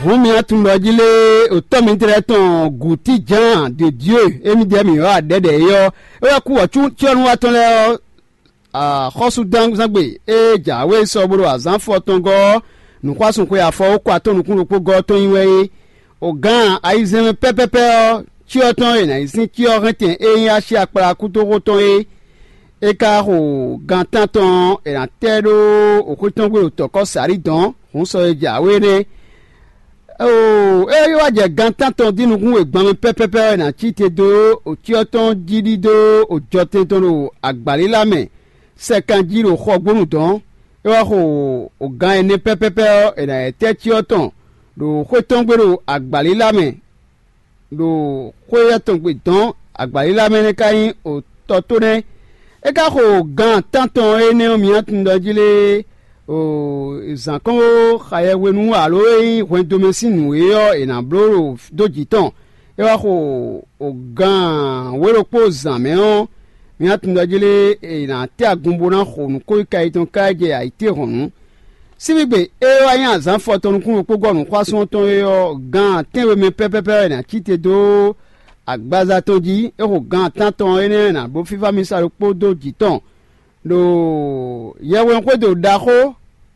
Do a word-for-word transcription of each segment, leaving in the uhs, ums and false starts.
Hǔn mi tunwun ɖɔ jí lé, òtɔ́ mitɔ́ lɛ́ɛ tɔn Gǔtíjǎn de Dieu émí ɖɛ̌ mǐ wá ɖɛ̌ɖɛ̌ é ɔ́, é wɛ kú wɔ̌cyɔ́núwatɔ́ lɛ́ɛ ɔ́, axɔ́súzangbe e jǎwe sɔ bó ɖo azǎn fɔ tɔn gɔ́ ɔ́, nǔxwásúnxwe afɔ ó kɔ atɔ́ nukún ɖokpó gɔ́ ɔ́ tɔn nyi wɛ é. O gǎn ayizɛ́nmɛ pɛ́pɛ́pɛ́ ɔ́, cyɔ tɔn e è nǎ yi sín cyɔ hɛntɛn e nyí Asyá kplá kúdóxó tɔn é, é ka xo gan tántɔn ɔ́, è nǎ tɛ ɖó xwé tɔn gbe ɖo tɔ̌kɔ́ Salíi dɔ̌n, hǔn sɔ e jǎwe nɛ́. Oo, é wá jɛ gan tántɔn dín nukún wegban mɛ pɛ́pɛ́pɛ́ ɔ́, è nǎ cí te dó ocyɔ tɔn jí ɖidó ojɔtɛn tɔn ɖo agbǎlílá mɛ sɛkan jí ɖo xɔgbónu dɔ̌n. É wá xo gan ɛnɛ pɛ́pɛ́pɛ́ ɔ́, è nǎ yɛ tɛ́ cyɔ tɔn ɖo xwé tɔn gbe ɖo agbǎlílá mɛ ɖo xwé éyɛ́ tɔn gbe dɔ̌n agbǎlílá mɛ nɛ́ ka nyí otɔ́ tó nɛ́. É ka xo gan tántɔn énɛ́ ɔ́, mi tunwun ɖɔ jí lé, zǎnkɔ́nwó xa yɛhwenu alo e nyí hwɛndo mɛ sín nǔ é ɔ́, è nǎ bló ɖo dó jǐ tɔn. É wá xo gan wǒ ɖokpó zǎn mɛ ɔ́, mi tunwun ɖɔ jí lé, è nǎ tɛ́ agun bó ná xo nǔ kó yi ka yi tɔn káká jɛ ayǐtéhɔ̌nnu. Síbígbe e wá nyí azǎn fɔtɔn nukún ɖokpó gɔ́ nǔxwásún ɔ́ tɔn é ɔ́, gan tɛ́nwe mɛ pɛ́pɛ́pɛ́ wɛ è nǎ cí te dó agbaza tɔn jí. É xo gan tántɔn énɛ́ ná bló fífá mísa ɖokpó dó jǐ tɔn ɖo yɛhwesin xwédo ɖaxó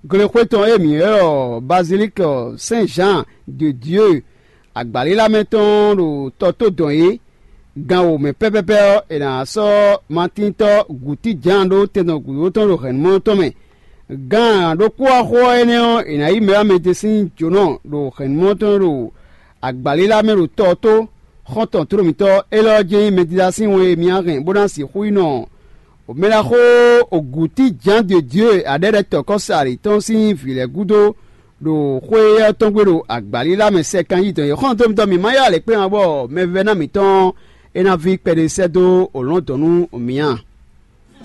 glexwé tɔn e mǐ ylɔ́ ɖɔ Bazilíki Sɛ́n Zǎan de Dieu agbǎlílá mɛ tɔn ɖo tɔ tó dɔn é. Gan wǒ mɛ pɛ́pɛ́pɛ́ ɔ́, è nǎ sɔ́ Matíntɔ́ Gǔtíjǎan ɖó tɛndɔn gǔdo tɔn ɖo hɛ̌nnumɔ tɔn mɛ. Gan ɖokpó axó ɔ́ énɛ́ ɔ́, è nǎ yí mɛ wá mɛ ɖé sín jǒnɔ ɖo hɛ̌nnumɔ tɔn ɖo agbǎlílá mɛ ɖo tɔ ɔ́ tó. Xɔ́ntɔn tlóló mǐtɔn élɔ́ ɔ́ jɛ́n nyí mɛdídá sín wɛn e mǐ hɛn bó ná sixú yi nɔ mɛɖaxó Gǔtíjǎn de Dieu aɖɛ́ɖɛ́tɔ́kɔ́sali tɔn sín vǐ lɛ́ɛ gúdo ɖo xwé éyɛ́ tɔn gbe ɖo agbǎlílá mɛ sɛkan yí dɔn yě xɔ́ntɔn mǐtɔn mǐ ma ylɔ́ alě kpé ǎ bɔ mɛvɛ́ná mǐtɔn é ná ví kpɛɖé sɛ́ dó lɔ̌ndɔ̌n nú mǐ a?